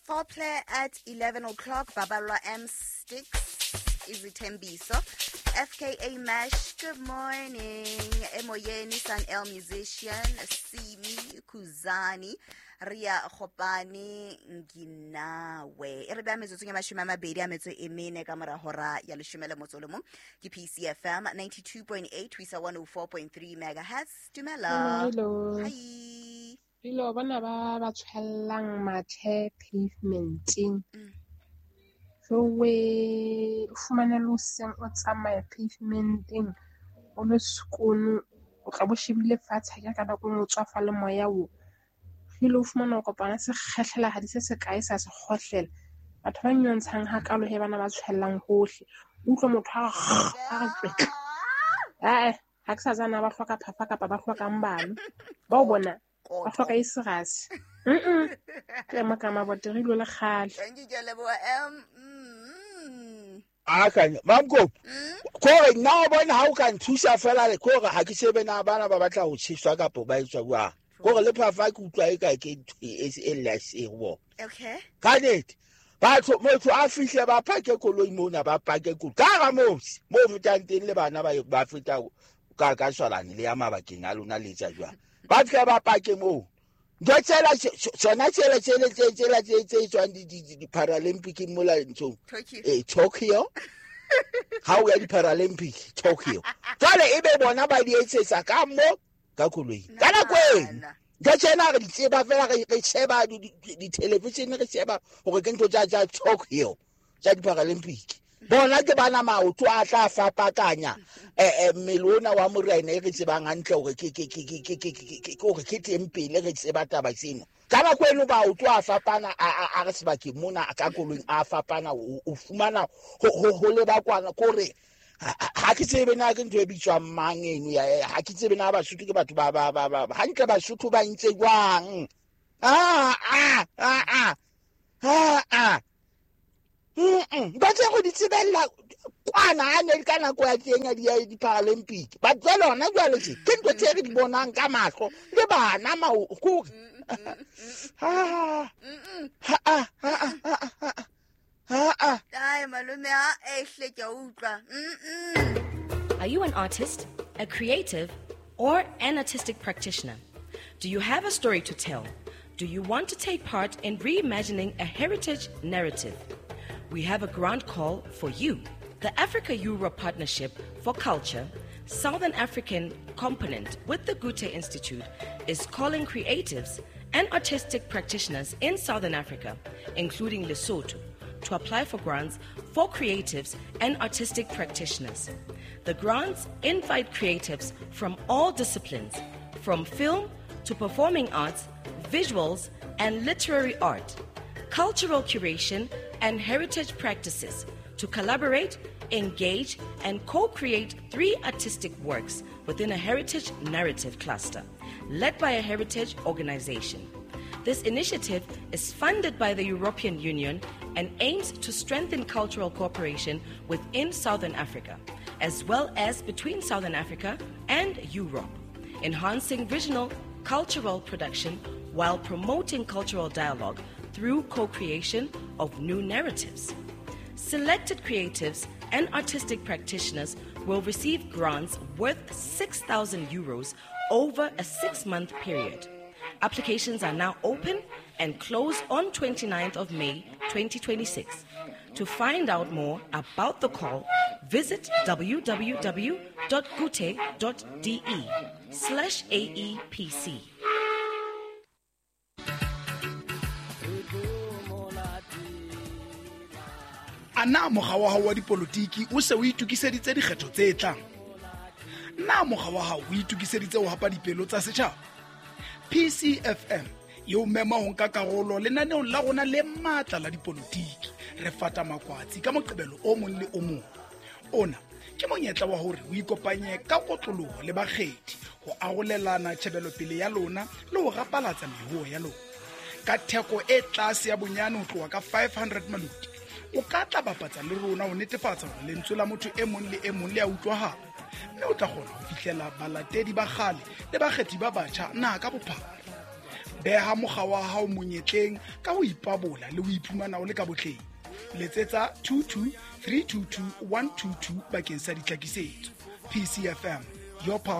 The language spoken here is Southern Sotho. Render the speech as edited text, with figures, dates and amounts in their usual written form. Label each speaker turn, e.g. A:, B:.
A: Foreplay at 11 o'clock. Babalwa M Sticks Izithembiso. FKA Mash, good morning. Emoyeni San El musician, Simi Kuzani, Ria Khopani Nginawe. E re beha metsotsong ya 24 ka mora hora ya 11 ke PCFM 92.8 ho isa 104.3 megahertz. Dumela.
B: Hello.
A: Hi.
B: Dilo bona ba ba tshwellang mathe pavementeng. Jowe, o fumane le hoseng o tsamaya pavementeng o le sekono, o tla bo shebile fatshe ha ka nako e nngwe o tswafa le moya o. Ebile o fumana o kopana sekgehlela se se kae sa se kgohlela. Batho ba nyontshang hakalo he bana ba tshwellang hohle. O utlwe motho a re tswetla. Ae, ha ke sa tsana ba hloka phafa kapa ba hlokang bana. Ba o bona ba hloka e serasi. Ke ema ka mabote re ilo le kgale.
A: Thank you, ke a leboha.
C: Akanya mamko kore nna o bona ha o ka nthusa fela le kore ha ke shebe na bana ba batla ho tjheswa kapa ba etswa jwang. Kore le phafa ke utlwa e ka ke ntho e e ho bona.
A: Okay.
C: Ka nnete batho motho a fihle ba phake koloi mona ba pake koloi ka hara motse mo fetang teng le bana ba feta ka shwalane le ya mabakeng a lona le etsa jwang. Ba fihle ba pake moo. Ntho tsela tsona tsela tsela tsela tse tse tswang di Paralympic mola nthong.
A: Tokyo.
C: Tokyo. Ha o ya di Paralympic Tokyo. Jwale e be bona ba di etsetsa ka mo ka koloi. Ka nako eno. Ntho tsena re di tseba fela re sheba di television re sheba hore ke ntho tsa Tokyo tsa di Paralympic. Bona ke bana maoto a tla fapakanya mmele ona wa morena e re tsebang hantle hore ke hore ke teng pele re tseba taba tseno. Ka nako eno maoto a fapana a re sebakeng mona ka koloing a fapana o fumana ho leba kwana kore ha ke tsebe na ke ntho e bitswang mang eno ya ha ke tsebe na Basotho ke batho ba ba hantle Basotho ba ntse jwang. Ba tse go di tsebella kwana a ne ka nako ya teng ya di Paralympic. Ba jwale hona jwale tje ke ntho tse re di bonang ka mahlo le bana kore. Ha ha ha ha.
A: Ai malome a ehle ke a utlwa.
D: Are you an artist, a creative, or an artistic practitioner? Do you have a story to tell? Do you want to take part in reimagining a heritage narrative? We have a grant call for you. The Africa-Europe Partnership for Culture, Southern African component with the Goethe Institute, is calling creatives and artistic practitioners in Southern Africa, including Lesotho, to apply for grants for creatives and artistic practitioners. The grants invite creatives from all disciplines, from film to performing arts, visuals and literary art, cultural curation and heritage practices to collaborate, engage, and co-create 3 artistic works within a heritage narrative cluster, led by a heritage organization. This initiative is funded by the European Union and aims to strengthen cultural cooperation within Southern Africa, as well as between Southern Africa and Europe, enhancing regional cultural production while promoting cultural dialogue through co-creation of new narratives. Selected creatives and artistic practitioners will receive grants worth 6,000 euros over a 6-month period. Applications are now open and close on 29th of May 2026. To find out more about the call, visit www.goethe.de/AEPC.
E: Ana mokga wa hao wa dipolotiki o se o itokiseditse dikgetho tse tlang? Na mokga wa hao o itokiseditse ho hapa dipelo tsa setjhaba? PCFM e o mema ho nka karolo lenaneong la rona le matla la dipolotiki. Re fata makwatsi ka Moqebelo o mong le o mong. Ona ke monyetla wa hore o ikopanye ka kotloloho le bakgethi ho arolelana tjhebelopele ya lona le ho rapalatsa mehuo ya lona. Ka theko e tlase ya bonyane ho tloha ka 500 maloti, o ka tla bapatsa le rona ho netefatsa hore lentswe la motho e mong le e mong le a utlwahala, mme o tla kgona ho fihlela balatedi ba kgale le bakgethi ba batjha naha ka bophara. Beha mokga wa hao monyetleng ka ho ipabola le ho iphumana o le ka botleng. Letsetsa 22 322 122 bakeng sa ditlhakisetso. PCFM, your pulse.